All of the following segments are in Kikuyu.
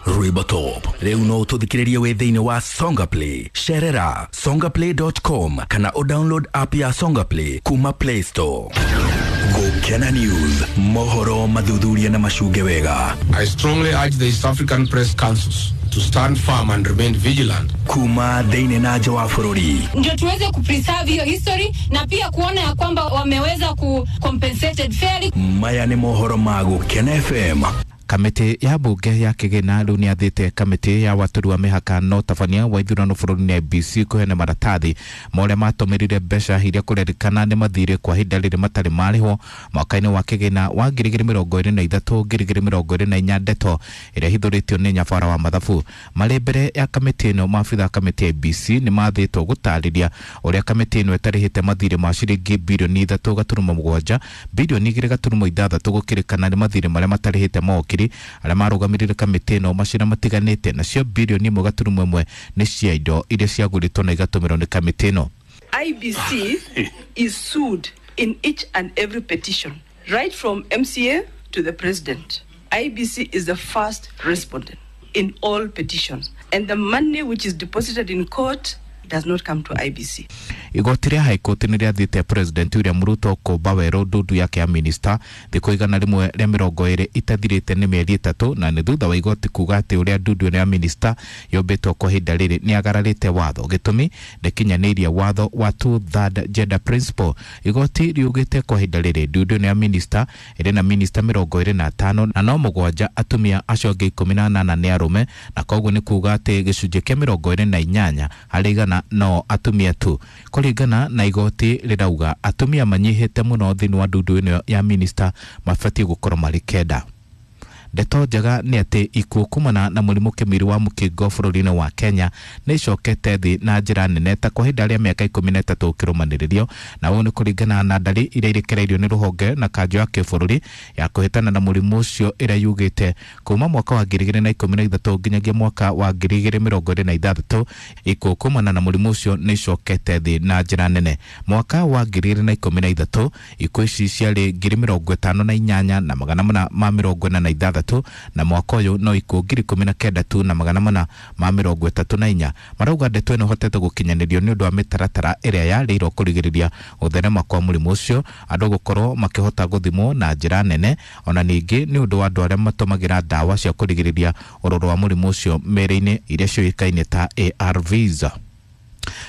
Rwĩmbo Top rĩu no ũtũthikĩrĩrie wĩ thĩinĩ wa Songa Play. Cerera songaplay.com kana ũdownload app ya Songa Play kuma Play Store. Gũkena News, mohoro mathuthuria na macunge wega. I strongly urge the East African Press Councils to stand firm and remain vigilant. Kuma thĩinĩ na nja wa bũrũri. Ndio tuweze kupreserve hiyo history na pia kuona ya kwamba wameweza ku compensated fairly. Maya nĩ mohoro ma Gũkena FM. Kamĩtĩ ya mbunge ya kĩgĩna rĩu nĩathĩte kamĩtĩ ya watũri wa mĩhaka na ũtabania wa ithurano bũrũri-inĩ IEBC kũheana maratathi ma ũrĩa matũmĩrire mbeca iria kũrerĩkana nĩ mathirĩ kwa ihinda rĩrĩ matarĩ marĩhwo mwaka-inĩ wa kĩgĩna wa 2023 2024. Ndeto ĩrĩa ĩhithũrĩtio nĩ nyabara wa mathabu. Marĩ mbere ya kamĩtĩ ĩno, maabitha a kamĩtĩ ya IEBC nĩ mathĩtwo gũtarĩria ũrĩa kamĩtĩ ĩno ĩtarĩhĩte mathirĩ ma ciringi birioni 3.7, birioni 2.6 gũkĩrĩkana nĩ mathirĩ marĩa matarĩhĩte mawakiri arĩa marũgamĩrĩire kamĩtĩ ĩno macira matiganĩte, nacio birioni 1.1 nĩ cia indo iria ciagũrĩtwo na igatũmĩrwo nĩ kamĩtĩ ĩno. IEBC is sued in each and every petition, right from MCA to the president. IEBC is the first respondent in all petitions, and the money which is deposited in court does not come to IEBC. Igoti rĩa High Court nĩ rĩathĩte President William Ruto kũmba werũ ndundu yake ya minista thikũ 120 itathirĩte nĩ mĩeri 3, na nĩ thutha wa igoti kuga atĩ ũrĩa ndundu ĩno ya minista yũmbĩtwo kwa ihinda rĩrĩ nĩ agararĩte watho. Gĩtũmi ndĩkinyanĩirie watho wa two-third gender principle. Igoti riugĩte kwa ihinda rĩrĩ ndundu ĩno ya minista ĩrĩ na minista 25 na no 7 atumia, acio angĩ 18 nĩ arũme, na koguo nĩ kuga atĩ gĩcunjĩ kĩa 28 harĩ igana no atumia tu. Kũringana na igoti rĩrauga atumia manyihĩte mũno thĩinĩ wa ndundu ĩno ya minista, mabatiĩ gũkorwo marĩ 9. Ndeto njega nĩ atĩ ikuũ kumana na mũrimũ kĩmiri wa mũkingo bũrũri-inĩ wa Kenya nĩ icokete thĩ na njĩra nene ta kwa ihinda rĩa mĩaka 13 ũkĩrũmanĩrĩrio, na ũũ nĩ kũringana na ndari iria irekereirio nĩ rũhonge na kanjũ ya kĩbũrũri ya kũhĩtana na mũrimũ ũcio ĩrĩa yugĩte kuma mwaka wa 2013 nginyagia mwaka wa 2026 ikuũ kumana na mũrimũ ũcio nĩ icokete thĩ na njĩra nene. Mwaka wa 2013 ikuũ ici ciarĩ 58,446, na mwaka ũyũ no ikuũ 19,000 tu na 434. Marauga ndeto ĩno ĩhotete gũkinyanĩrio nĩ ũndũ wa mĩtaratara ĩrĩa yarĩirwo kũrigĩrĩria gũtherema kwa mũrimũ ũcio, andũ gũkorwo makĩhota gũthimwo na njĩra nene, ona ningĩ nĩ ũndũ wa andũ arĩa matũmagĩra ndawa cia kũrigĩrĩria ũrũrũ wa mũrimũ ũcio mĩĩrĩ-inĩ iria ciũĩkaine ta ARVs.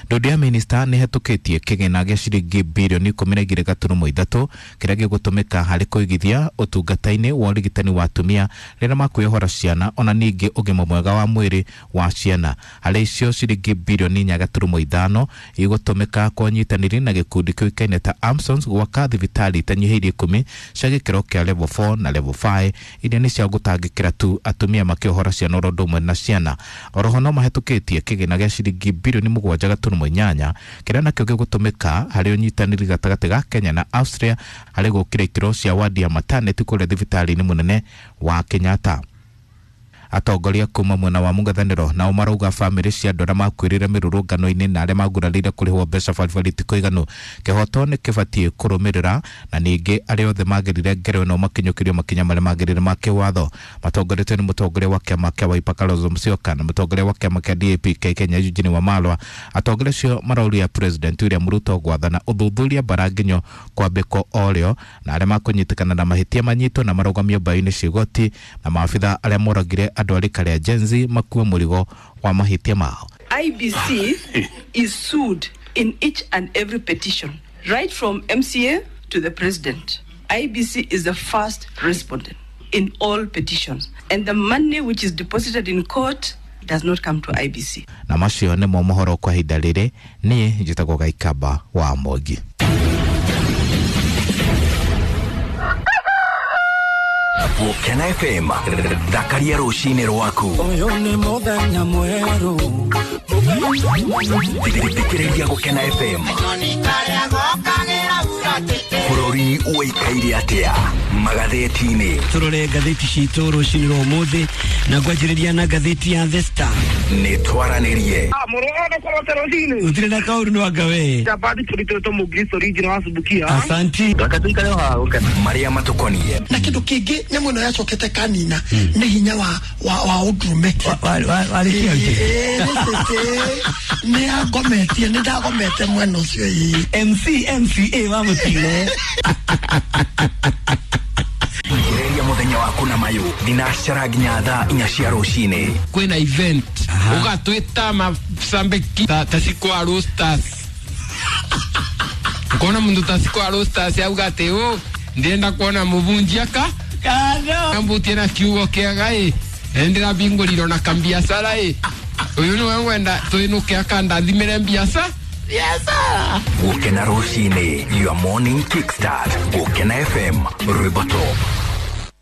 Ndundu ya minista nĩ ĩhetũkĩtie kĩgĩna gĩa ciringi birioni 12.3 kĩrĩa gĩgũtũmĩka harĩ kũigithia ũtungata-inĩ wa ũrigitani wa atumia rĩrĩa makwĩyohora ciana, ona ningĩ ũgima mwega wa mwĩrĩ wa ciana. Harĩ icio ciringi birioni 4.5 igũtũmĩka kwa ũnyitanĩri na gĩkundi kĩũĩkaine ta Amsons gwaka thibitarĩ itanyihĩirie 10 cia gĩkĩro kĩa level 4 na level 5 iria nĩ cia gũtangĩkĩra tu atumia makĩohora ciana oro ũndũ ũmwe na ciana. Oroho no mahetũkĩtie kĩgĩna gĩa ciringi birioni 7.8 kĩrĩa nakĩo gĩgũtũmĩka harĩ ũnyitanĩri gatagatĩ ga Kenya na Austria harĩ gũkĩra ikĩro cia wadi ya maternity kũrĩa thibitarĩ-inĩ mũnene wa Kenyatta. Atongoria kuma mwena wa mũng'ethanĩro nao marauga bamĩrĩ cia andũ arĩa makuĩrĩire mĩrũrũngano-inĩ na arĩa magurarĩire kũrĩhwo mbeca baribari ti kũiganu. Kĩhoto nĩ kĩbatiĩ kũrũmĩrĩra, na ningĩ arĩa othe magerire ngero ĩno makinyũkĩrio makinya marĩa magĩrĩire ma kĩwatho. Matongoretio nĩ mũtongoria wa kĩama kĩa Wiper Kalonzo Musyoka na mũtongoria wa kĩama kĩa DAP Kenya Eugene Wamalwa. Atongoria acio marauria President William Ruto gwathana ũthuthuria mbaranginyo kwambĩkwo orĩo, na arĩa makũnyitĩkana na mahĩtia manyitwo na marũgamio mbaũ-inĩ cia igoti, na maabitha arĩa moragire andũ arĩ karĩa Gen Z makue mũrigo wa mahĩtia mao. IEBC is sued in each and every petition, right from MCA to the president. IEBC is the first respondent in all petitions, and the money which is deposited in court does not come to IEBC. Na macio nĩmo mohoro kwa ihinda rĩrĩ. Niĩ njĩtagwo Gaikamba wa Mwangi. Gũkena FM, thakaria rũcinĩ rwaku. Ũyũ nĩ mũthenya mwerũ. Thikĩrĩria Gũkena FM. Bũrũri ũikaire atĩa magathĩti-inĩ? Tũrore ngathĩti citũ rũcinĩ rwa ũmũthĩ na ngwanjĩrĩria na ngathĩti ya The Star. Nĩ twaranĩrie. Gũtirĩ na kaũru nĩ wanga we. Asanti. Marĩa matũkoniĩ. Na kindu kingi nyamu ĩno yacokete kanina nĩ hinya wa ũndũrũme. Warĩkia. Ĩĩ, nĩ cĩcĩ nĩ angometie, nĩ ndagomete mwena ũcio ĩĩ. MC MCA wa mũtino. Thikĩrĩria mũthenya waku na mayũ thinacara nginya thaa 4 cia rũcinĩ. Kwĩna event ũgatwĩta macambĩki ta cikwa roasters, ukona mundu ta cikwa roasters auga atĩ ũ ndĩrenda kuona mũvunjia ka ambutie na kiugo kĩega ĩ ndĩrambingũrirwo na kambiacara ĩ ũyũ nĩwe ngwenda twĩnũke akandathimĩre mbiaca. Gũkena rũcinĩ, your morning kickstart. Gũkena FM, rwĩmbo top.